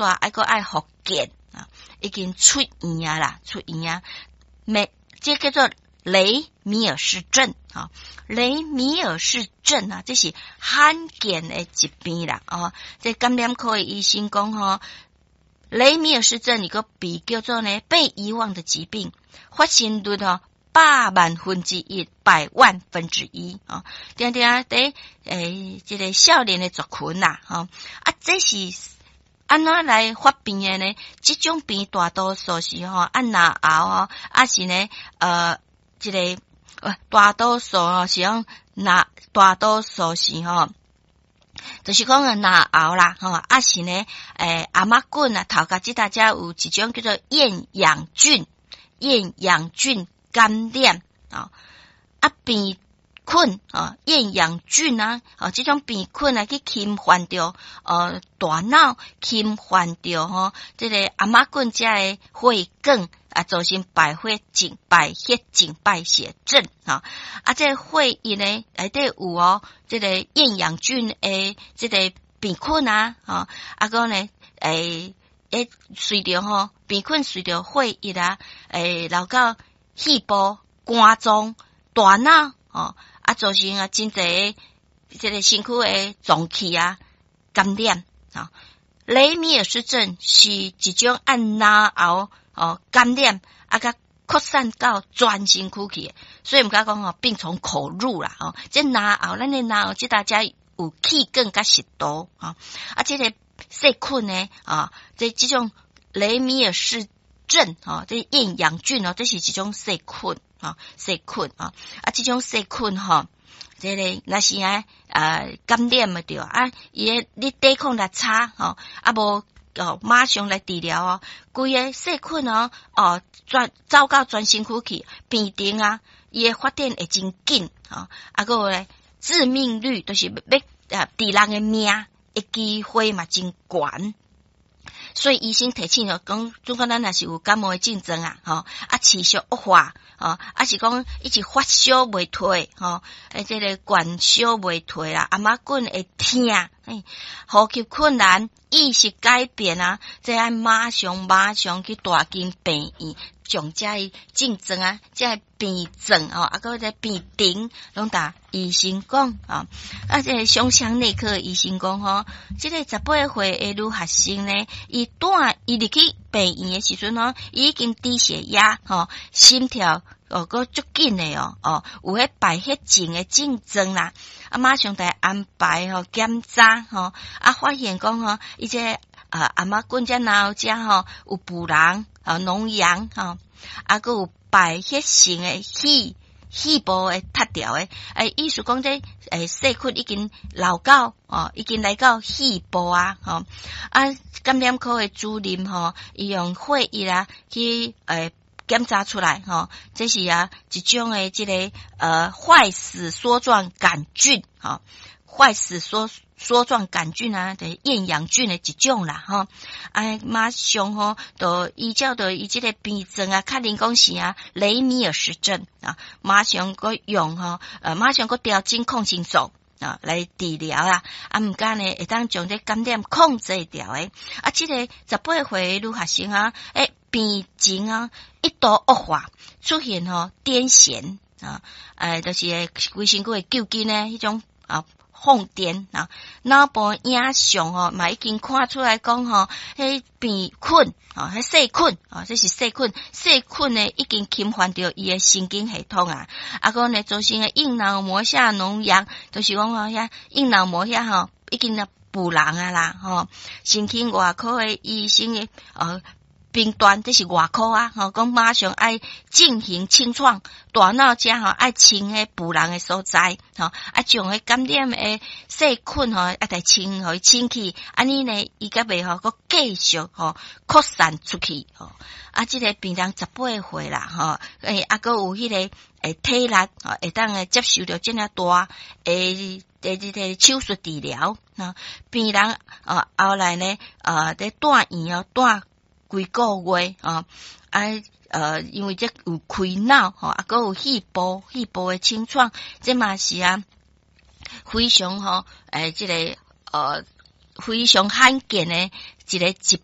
煞愛閣愛復健啊，已經出院啊啦，出院啊，沒，這叫做雷米爾氏症啊，雷米爾氏症啊，這是罕見的疾病啦，哦，這感染科的醫生講吼，雷米爾氏症伊閣被叫做呢被遺忘的疾病，發生率吼百萬分之一，百萬分之一啊！定定佇欸，這个少年的族群啦，吼啊，這是按怎來發病的呢？這種病大多數是吼按嚨喉吼，啊是呢，這个大多數吼是講那大多數是吼，就是講個嚨喉啦，吼，啊是呢，欸，頷仔菌啊，頭殼這搭遮有一種叫做厭氧菌，厭氧菌感染啊，啊病菌啊，厭氧菌啊，啊，這種病菌啊去侵犯著大腦，侵犯著吼這个頷仔菌遮的血管啊，造成敗血症、敗血症、敗血症啊，啊，這个血液呢內底有哦，這个厭氧菌的這个病菌啊，吼，啊閣呢，欸，會隨著吼病菌隨著血液啊，會流到肺部、肝臟、大腦，吼，啊，造成啊真濟這个身軀的臟器啊感染啊。雷米爾氏症是一種按嚨喉哦感染啊，佮擴散到全身軀去的，所以毋敢講吼病從口入啦，吼，這嚨喉，咱的嚨喉這搭遮有氣管佮食道，吼，啊，這个細菌呢，啊，這這種雷米爾氏症，吼，這厭氧菌哦，這是一種細菌，啊，細菌啊，啊，這種細菌吼，這个若是啊，感染的著啊，伊的你抵抗力差，吼，啊無哦，馬上來治療哦，規个細菌哦，哦，轉走到全身軀去，病程啊，伊的發展會真緊，吼，啊，閣有咧致命率，就是欲致人的命的機會嘛真懸。所以醫生提醒哦，講，總講咱若是有感冒的症狀啊，吼，啊持續惡化，吼，啊是講一直發燒袂退，吼，欸，這个高燒袂退啦，頷仔菌會疼，欸，呼吸困難，意識改變啊，這愛馬上馬上去大間病院，將這个症狀啊，這个病症吼，啊閣這病程，攏共醫生講啊。啊，這个胸腔內科醫生講吼，這个18歲的女學生呢，伊帶伊入去病院的時陣吼，伊已經低血壓吼，心跳哦，閣足緊的哦，哦，有彼敗血症的症狀啦，啊，馬上共安排吼檢查吼，啊，發現講吼，伊這啊頷仔菌這嚨喉遮吼有腐囊啊膿瘍吼，啊，閣有敗血性的肺部的脫掉的，欸，意思講這欸細菌已經流到哦，已經來到肺部啊，吼啊，感染科的主任吼，伊用血液啊去欸檢查出來，吼，這是啊一種的這个壞死梭狀桿菌，吼，壞死梭狀桿菌啊，就是厭氧菌的一種啦，吼，啊，馬上吼，就依照著伊這个病症啊，確認講是啊雷米爾氏症啊，馬上閣用吼，馬上閣調整抗生素啊來治療啦，啊，毋過呢會當將這感染控制牢的，啊，這个18歲的女學生啊，欸，病情啊一度惡化，出現吼癲癇啊，欸，就是規身軀會揪筋的彼種啊。瘋癲啊！腦部影像吼嘛已經看出來講吼，彼病菌啊，彼細菌啊，這是細菌，細菌呢已經侵犯著伊的神經系統啊，啊，閣呢造成的硬腦膜下膿瘍，就是講吼遐硬腦膜遐吼已經啊腐爛啊啦吼，神經外科的醫生的診斷，這是外科啊，吼，講馬上愛進行清創，大腦遮吼愛清彼腐爛的所在，吼，啊將彼感染的細菌吼，啊來清，予伊清去，按呢呢，伊才袂吼閣繼續吼擴散出去，吼，啊，這个病人十八歲啦，吼，欸，啊，閣有彼个欸體力，吼，會當會接受著這爾大的這个手術治療，啊，病人啊後來呢，啊，佇住院哦，住幾個月啊，啊，因為這有開腦吼，啊，閣有肺部的清創，這嘛是啊，非常吼，欸，這个非常罕見的一个疾